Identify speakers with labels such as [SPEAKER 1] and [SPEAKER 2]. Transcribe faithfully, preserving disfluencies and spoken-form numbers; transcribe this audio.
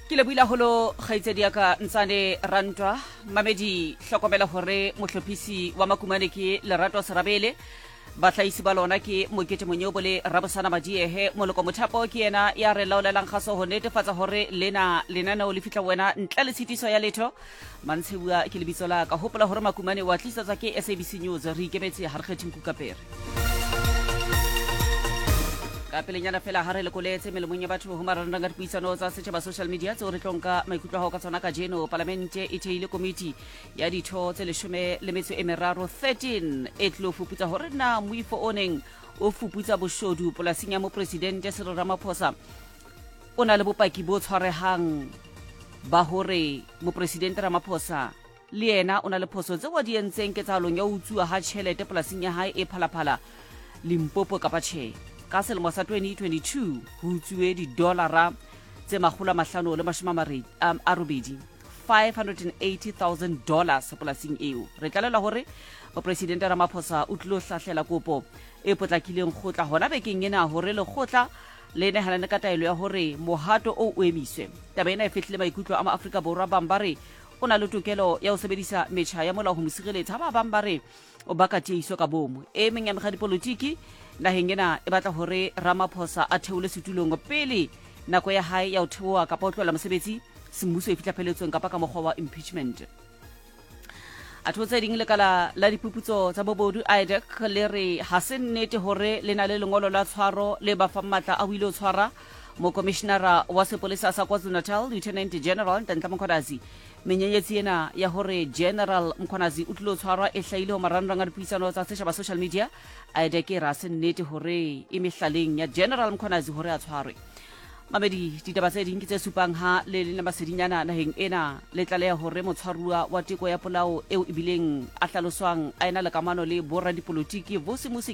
[SPEAKER 1] Ke lebohile haholo kgaitsedi ya ka Ntsane Rantwa. Mamedi, hlokomela hore mohlophisi wa Makumane ke Lerato Serabele, bahlahisi ba lona ke Mokete Monyobo le Rabosana Madiehe. Moloko Mothapo ke yena ya re laolelang kgaso ho netefatsa hore lena lenaneo le fihla wena ntle le tshitiso ya letho. Mantshebua ke lebitso la ka. Hopola hore Makumane wa tlisetswa ke S A B C News. Re ikemetse, ha re kgethe nku ka pere. Ka pelenyana fela ha re lekoletse melemong ya batho ho marangrang a dipuisano tsa setjhaba, social media, tseo re tlo nka maikutlo a hao ka tsona kajeno. Palamente e theile komiti ya ditho tse leshome le metso e meraro, thirteen, e tlo fuputsa hore na moifo o neng o fuputsa boshodu polasing ya mopresidente Cyril Ramaphosa o na le bopaki bo tshwarehang ba hore mopresidente Ramaphosa le yena o na le phoso tseo a di entseng ketsahalong ya ho utsuwa ha tjhelete polasing ya hae e Phalaphala, Limpopo, kapa tjhe. Ka selemo sa twenty twenty-two ho utsuwe didolara tse makgolo a mahlano le mashome a mare- a a robedi, five hundred eighty thousand dollars polasing eo. Re tlalelwa hore mopresidente Ramaphosa o tlilo hlahlela kopo e potlakileng kgotla hona bekeng ena hore lekgotla le nehelane ka taelo ya hore mohato oo o emiswe. Taba ena e fehlile maikutlo a Maafrika Borwa. Bang ba re o na le tokelo ya ho sebedisa metjha ya molao ho mo sireletsa, ha ba bang ba re o baka tiehiso ka bomo. E meng ya mekga dipolotiki naheng ena e batla hore Ramaphosa a theole setulong pele nako ya hae ya ho theoha kapa ho tlohela mosebetsi semmuso e fihla pheletsong, kapa ka mokgwa wa impeachment. Atho tse ding, lekala la diphuputso tsa bobodu, IDAC, le re ha se nnete hore le na le lengolo la tshwaro le ba fang matla a ho ile ho tshwara mokomishinara wa sepolesa sa KwaZulu-Natal, Lieutenant General Nhlanhla Mkhwanazi. Menyenyetsi ena ya hore General Mkhwanazi o tlilo tshwarwa e hlahile ho marangrang a dipuisano tsa setjhaba, social media. IDAC e re ha se nnete hore e mehlaleng ya General Mkhwanazi hore a tshwarwe. Mamedi, ditaba tse ding ke tse supang ha le leng la masedinyana naheng ena le tlaleha hore motshwaruwa wa teko ya polao eo ebileng a hlaloswang a ena le kamano le boradipolotiki Vusimusi.